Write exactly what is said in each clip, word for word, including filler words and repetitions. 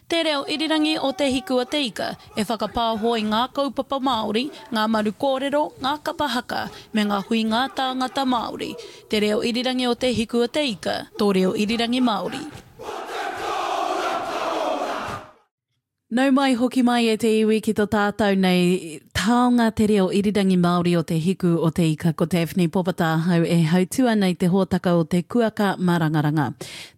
Te reo irirangi o Te Hiku o Te Ika e whakapāho i ngā kaupapa Māori, ngā maru kōrero, ngā kapa haka, me ngā huinga tāngata Māori. Te reo irirangi o Te Hiku o Te Ika, tō reo irirangi Māori. Nau mai hoki mai e te iwi ki to tātou nei taonga te reo irirangi Māori o Te Hiku o Te Ika. Ko Daphne Popata ahau e hautū ana i te hōtaka o te Kuaka Marangaranga.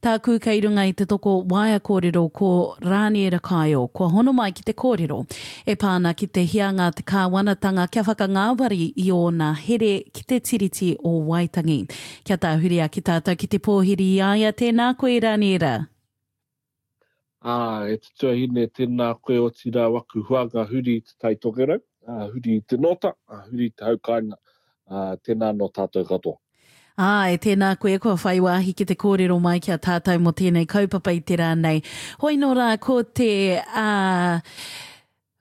Tāku kei runga i te toko waea kōrero ko Rāniera Kaio, kua hono mai ki te kōrero e pā ana ki te hianga a te kāwanatanga kia whakangāwari i ōna here ki te Tiriti o Waitangi. Kia tāhuri ake tātou ki te pōhiri i a ia, tēnā koe Rāniera. Ā, e te tuahine, tēnā koe otirā waku huanga huri i te Tai Tokerau, ā, huri i te Nōta, ā, huri i te hau kāinga, ā, tēnā anō tātou katoa. Āe, tēnā koe kua whai wāhi ki te kōrero mai ki a tātou mō tēnei kaupapa i te rā nei. Hoi nō rā, ko te, ā,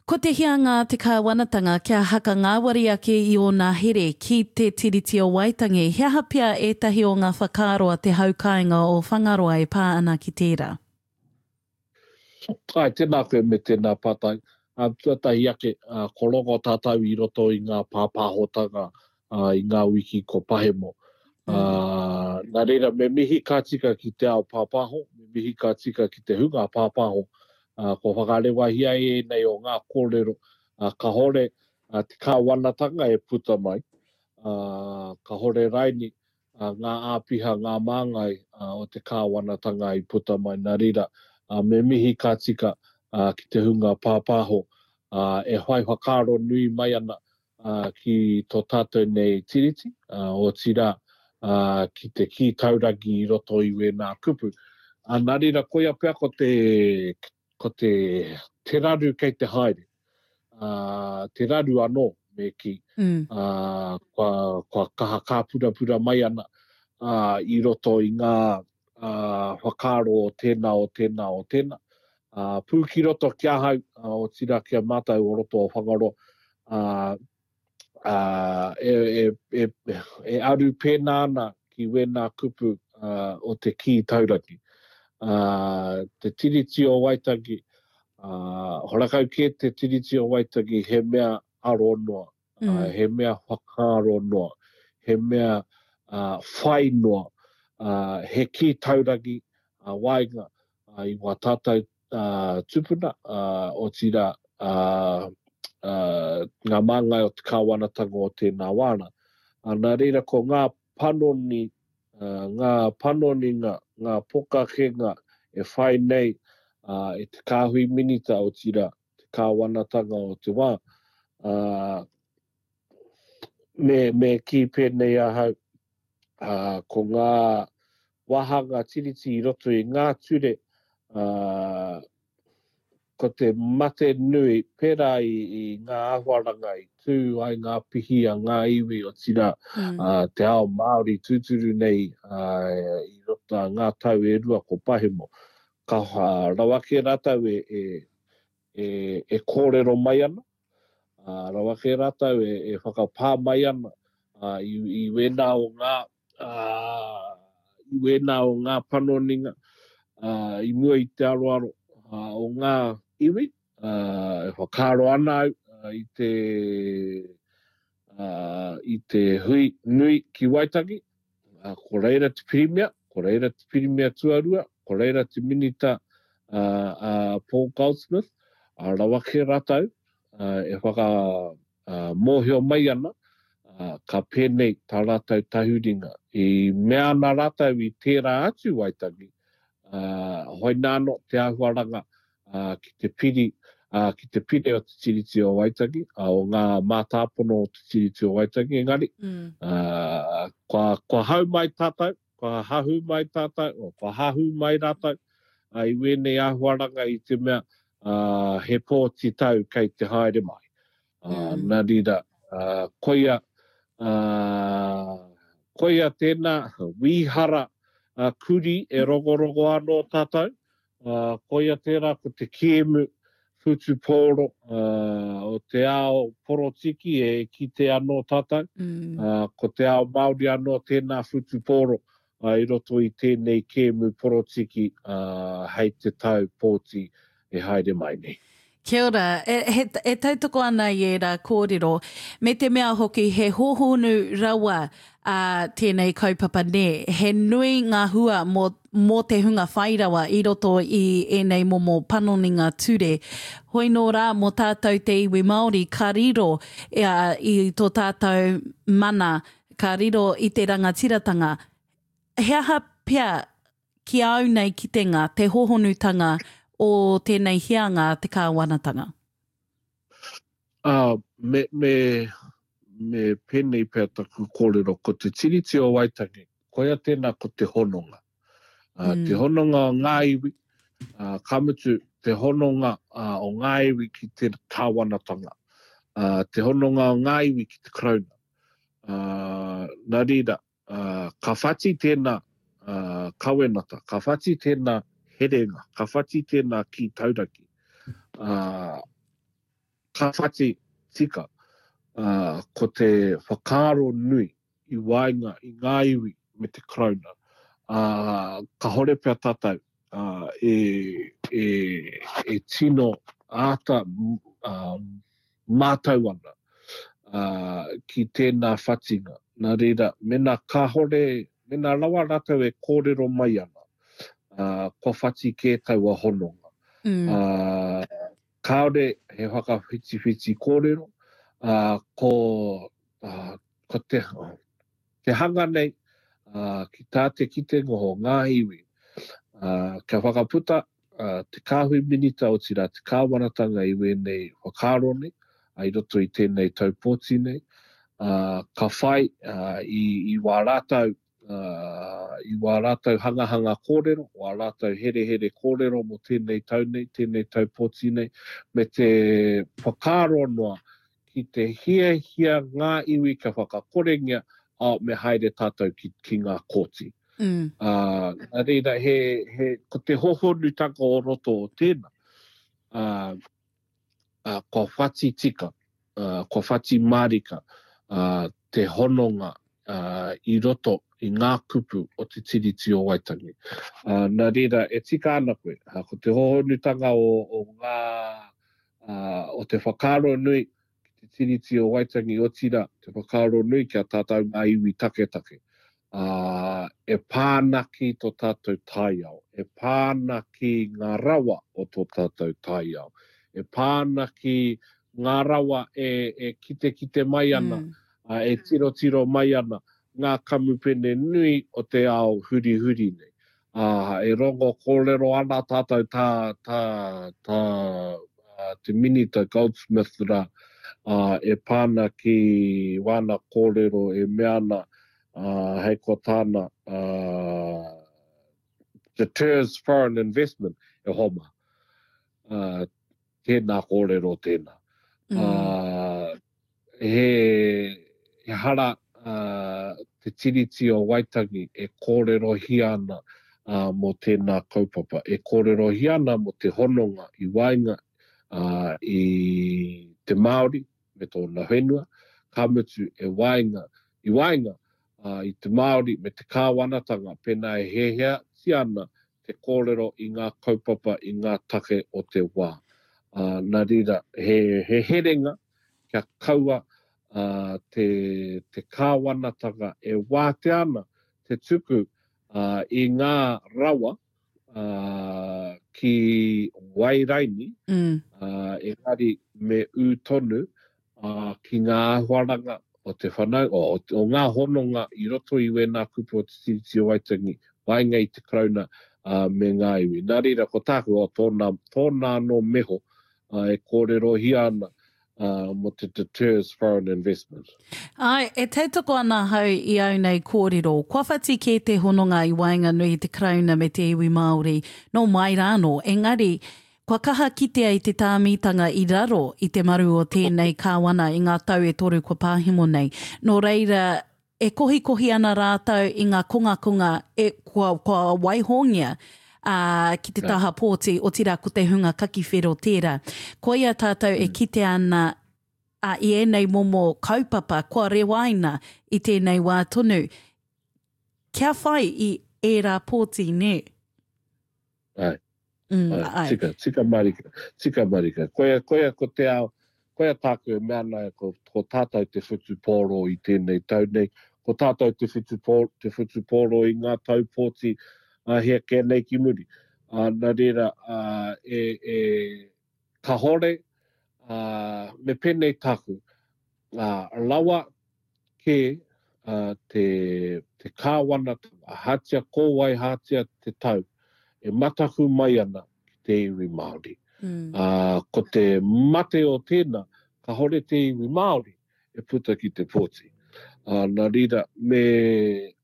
ko te hianga a te kāwanatanga kia haka ngāwari ake i ōna here ki te Tiriti o Waitangi, he aha pea ētahi o ngā whakaaro a te hau kāinga o Whangaroa e pā ana ki tērā? Āe, tēnā koe me tēnā pātai. Tuatahi ake, ko rongo tātou i roto i ngā pāpāhotanga i ngā wiki ko pahemo. Nā reira, me mihi ka tika ki te ao pāpāho, me mihi ka tika ki te hunga pāpāho. Kua whakarewahia ēnei o ngā kōrero, kahore te kāwanatanga e puta mai, kahore raini ngā āpiha, ngā māngai o te kāwanatanga i puta mai. Nā reira, me mihi ka tika ki te hunga pāpāho e whai whakaaro nui mai ana ki tō tātou nei tiriti, otirā ki te kī taurangi i roto i wēnā kupu. Nā reira, koia pea ko te, ko te, te raru kei te haere, te raru anō, me kī, mm. kua, kua kaha kāpurapura mai ana i roto i ngā whakaaro o tēnā, o tēnā, o tēnā. Pū ki roto ki ahau, otirā ki a mātou o roto o Whangaroa, e, e, e, e aru pēnā ana ki wēnā kupu o te kī taurangi. Te Tiriti o Waitangi, horakau kē te Tiriti o Waitangi he mea aro noa, mm. he mea whakaaro noa, he mea whai noa, he kī taurangi waenga i wā tātou tupuna, otirā ngā māngai o te kāwanatanga o tēnā wāna. Nā reira ko ngā panoni, ngā panoninga, ngā pokakenga e whai nei e te kāhui minita otirā, te kāwanatanga o te wā. Me, me kī pēnei ahau, ko ngā wāhanga tiriti i roto i ngā ture, ko te mate nui, pērā i, i ngā āhuaranga i tū ai ngā pihi a ngā iwi otirā, mm. uh, te ao Māori tūturu nei uh, i roto ngā tau e rua ko pahemo. Ka uh, rawa ake rātou e, e, e, e kōrero mai ana, uh, rawa ake rātou e, e whakapā mai ana uh, i, i wēnā o ngā, uh, i wēnā o ngā panoninga uh, i mua i te aroaro uh, o ngā iwi, uh, e whakaaro ana au uh, i te uh, i te hui nui ki Waitangi, uh, ko reira te pirimia, ko reira te pirimia tuarua, ko reira te minita uh, uh, Paul Goldsmith, uh, rawa ke rātou uh, e whaka uh, mōhio mai ana, uh, ka pēnei tā rātou tahuringa. I mea ana rātou i tērā atu Waitangi, uh, hoi nāno te āhuaranga uh, ki te piri, uh, ki te pire o te Tiriti o Waitangi, uh, o ngā mātāpono o te Tiriti o Waitangi, engari, mm. uh, kua, kua hau mai tātou, kua hahu mai tātou, o, kua hahu mai rātou, uh, i wēnei āhuaranga i te mea uh, he pōti tau kei te haere mai. Uh, mm. Nā reira, uh, koia, uh, koia tēnā, wīhara uh, kuri e rongorogo anō tātou, uh, koia tērā ko te kēmu whutupōro uh, o te ao porotiki e kite anō tātou, mm. uh, ko te ao Māori anō tēnā whutupōro uh, i roto i tēnei kēmu porotiki uh, hei te tau pōti e haere mai nei. Kia ora, e, he, e tautoko ana i ērā kōrero, me te mea hoki he hōhonu rawa a tēnei kaupapa nē, he nui ngā hua mō, mō te hunga whai rawa i roto i ēnei momo panoninga ture. Hoi nō rā mō tātou te iwi Māori ka riro e, a, i tō tātou mana, ka riro i te rangatiratanga. He aha pea ki au nei kitenga, te hōhonutanga o tēnei hianga a te kāwanatanga? Uh, me, me, me pēnei pea taku kōrero, ko te Tiriti o Waitangi, koia tēnā ko te hononga. Uh, mm. Te hononga o ngā iwi, uh, ka mutu te hononga uh, o ngā iwi ki te kāwanatanga, uh, te hononga o ngā iwi ki te Karauna. Uh, nā reira, uh, ka whati tēnā uh, kawenata, ka whati tēnā herenga, ka whati tēnā ki tauraki, uh, ka whati tika, uh, ko te whakaaro nui i waenga i ngā iwi me te Karauna, uh, ka hore pea tātou uh, e, e, e tino āta uh, mātau ana uh, ki tēnā whatinga. Nā reira, mena kāhore, mena rawa rātou e kōrero mai ana, uh, kua whati kē taua hononga. Mm. Uh, kāore he whakawhitiwhiti kōrero, uh, ko, uh, ko te, te hanga nei uh, ki tā te kitenga o ngā iwi, uh, kia whakaputa uh, te kāhui minita o tira te kāwanatanga i wēnei whakaaro nei, uh, i roto i tēnei tau pōti nei, uh, ka whai uh, i, i wā rātou uh, i wā rātou hangahanga kōrero, wā rātou herehere kōrero mō tēnei tau nei, tēnei tau pōti nei, me te whakaaro noa ki te hiahia ngā iwi kia whakakorengia, oh, me haere tātou ki, ki ngā kōti. Mm. Uh, nā reira, he, he, ko te hohonutanga o roto o tēnā, uh, uh, kua whati tika, uh, kua whati mārika, uh, te hononga uh, i roto i ngā kupu o te Tiriti o Waitangi. Uh, nā reira, e tika ana koe, uh, ko te hohonutanga o, o ngā, uh, o te whakaaro nui ki te Tiriti o Waitangi, otira, te whakaaro nui kia tātou ngā iwi taketake. Uh, e pāna ki tō tātou taiao, e pāna ki ngā rawa o tō tātou taiao, e pāna ki ngā rawa e, e kite kite mai ana, Mm. uh, e tirotiro mai ana, ngā kamupene nui o te ao huri huri nei. Uh, e rongo kōrero ana tātou tā, tā, tā, uh, te Minita Goldsmith rā, uh, e pāna ki wāna kōrero e mea ana, uh, hei ko tāna, uh, deters foreign investment e homa. Uh, tēnā kōrero tēnā. Mm. Uh, he, he hara uh, te Tiriti o Waitangi e kōrerohia ana uh, mō tēnā kaupapa, e kōrerohia ana mō te hononga i waenga uh, i te Māori me tōna whenua, ka mutu e waenga, i waenga uh, i te Māori me te kāwanatanga, pēnā e heheatia ana te kōrero i ngā kaupapa i ngā take o te wā. Uh, nā reira, he, he herenga kia kaua uh, te, te kāwanatanga e wātea ana te tuku uh, i ngā rawa uh, ki Wairaini, Mm. uh, engari me ū tonu uh, ki ngā āhuaranga o te whanau, o, o, o ngā hononga i roto i wēnā kupu o te Tiriti o Waitangi, waenga i te Karauna uh, me ngā iwi. Nā reira, ko tāku o tōna, tōna anō meho uh, e kōrerohia ana uh, mō te deters foreign investment. Ai, e tautoko ana hau i au nei kōrero. Kua whati kē te hononga i waenganui i te Karauna me te iwi Māori, nō mai rānō. Engari, kua kaha kitea i te tāmitanga i raro i te maru o tēnei kāwana i ngā tau e toru kua pāhimo nei. Nō reira, e kohikohi ana rātou i ngā kongakonga e kua, kua waihongia uh, ki te taha pōti, otirā ko te hunga kakiwhero tērā. Koia tātou e kite ana uh, i ēnei momo kaupapa kua rewaina i tēnei wā tonu. Kia whai i ērā pōti, nē? Ai. Mm, Ai, ai. tika, tika marika, tika marika. Koia, koia ko te ao, koia tāku e mea ana, ko, ko tātou te whutupōro i tēnei tau nei, ko tātou te whutupōro, te whutupōro i ngā tau pōti a hea kē nei ki muri. Uh, nā reira, uh, e, e, kahore, uh, me pēnei tāku, uh, rawa kē uh, te, te kāwanatanga, hatia ko wai hatia te tau, e mataku mai ana ki te iwi Māori. Mm. Uh, ko te mate o tēnā, kahore te iwi Māori e puta ki te pōti. Uh, nā reira, me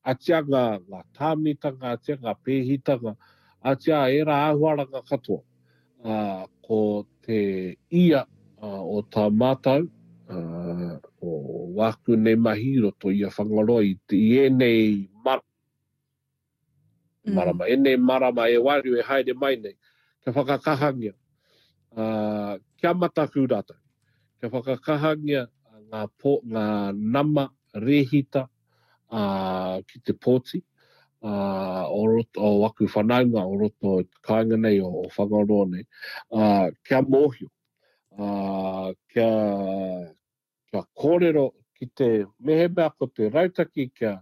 atia ngā, ngā tāmitanga, atia ngā pēhitanga, atia e rā āhuaranga katoa. Uh, ko te ia uh, o tā mātau, uh, o wāku nei mahi i roto i a Whangaroa i, te, i ēnei mar Mm. marama, ēnei marama e waru e haere mai nei, kia whakakahangia, uh, kia mataku rātou, kia whakakahangia ngā, po, ngā nama rehita uh, ki te pōti, uh, o, roto, o aku whanaunga o roto i te kāinga nei, o, o Whangaroa nei, uh, kia mōhio, uh, kia, kia kōrero ki te mehemea ko te rautaki kia,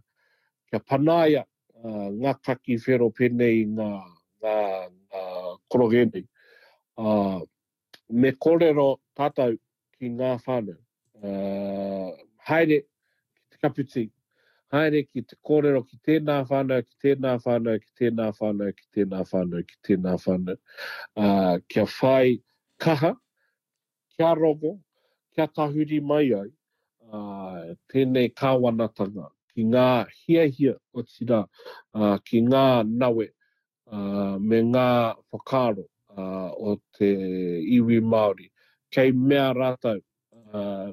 kia panaia uh, ngā kaki whero pēnei ngā, ngā, ngā koroge nei. Uh, me kōrero tātou ki ngā whānau. Uh, haere ki te kapiti, haere ki te kōrero ki tēnā whānau, ki tēnā whānau, ki tēnā whānau, ki tēnā whānau, ki tēnā whānau. Uh, kia whai kaha, kia rongo, kia tahuri mai ai, uh, tēnei kāwanatanga ki ngā hiahia o tira, uh, ki ngā nawe, uh, me ngā whakaaro uh, o te iwi Māori. Kei mea rātou, uh,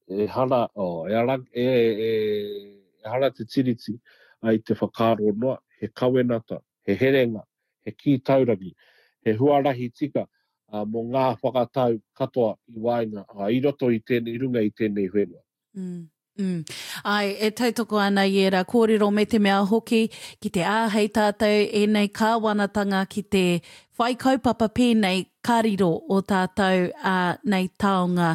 e hara, oh, e, ara, e, e, e hara te tiriti ai te whakaaro noa, he kawenata, he herenga, he kī taurangi, he huarahi tika uh, mō ngā whakatau katoa i waenga, uh, i roto i tēnei runga i tēnei whenua. Mm. Mm. Ai, e tautoko ana i ērā kōrero me te mea hoki ki te āhei tātou ēnei kāwanatanga ki te whai kaupapa pēnei ka riro o tātou uh, nei taonga,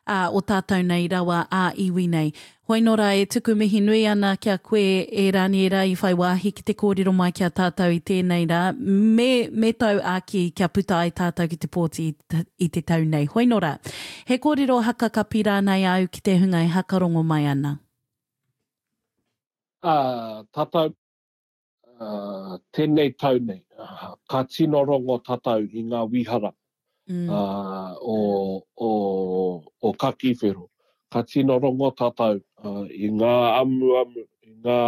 uh, o tātou nei rawa a iwi nei. Hoi nora e tuku mihi nui ana kia koe e Raniera i whai wāhi ki te kōrero mai kia tātou i tēnei rā, me, me tau āki kia puta ai tātou ki te pōti i, i te tau nei. Hoi nora, he kōrero haka kapi rānei au ki te hunga e hakarongo mai ana. Uh, tātou, uh, tēnei tau nei, uh, ka tino rongo tātou i ngā wihara Mm. uh, o, o, o kaki whero. Ka tino rongo tātou uh, i ngā amuamu, i ngā,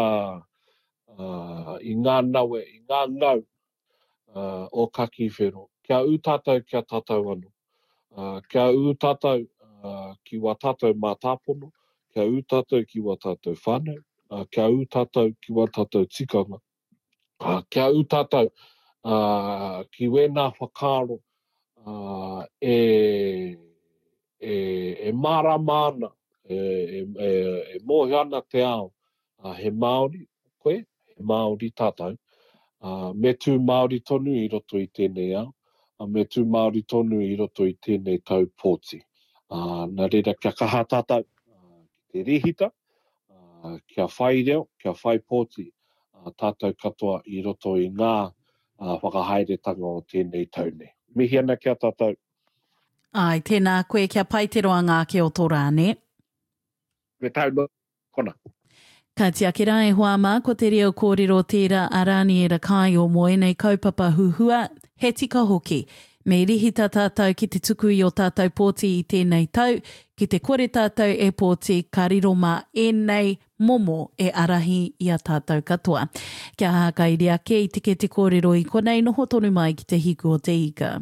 uh, i ngā nawe, i ngā ngau uh, o kaki whero. Kia ū tātou kia tātou anō. Uh, kia ū tātou uh, ki wā tātou mātāpono, kia ū tātou ki wā tātou whānau, uh, kia ū tātou ki wā tātou tikanga. Uh, kia ū tātou uh, ki wēnā whakaaro uh, e, e, e mārama ana, e, e, e, e mōhio ana te ao, uh, he Māori koe, he Māori tātou, uh, me tū Māori tonu i roto i tēnei ao, uh, me tū Māori tonu i roto i tēnei tau pōti. Uh, nā reira kia kaha tātou uh, ki te rehita, uh, kia whai reo, kia whai pōti uh, tātou katoa i roto i ngā uh, whakahaeretanga o tēnei tau nei. Mihi ana kia tātou. Ai, tēnā koe kia pai te roanga ake o tō rā, ne? Me tau noa kona. Ka tiake rā e hoa mā, ko te reo kōrero tērā a Raniera Kaio mō ēnei kaupapa huhua, he tika hoki. Me rihita tātou ki te tuku i o tātou pōti i tēnei tau, ki te kore tātou e pōti, ka riro mā ēnei momo e arahi i a tātou katoa. Kia hākairi ake i te ke te kōrero i konei noho tonu mai ki te hiku o te ika.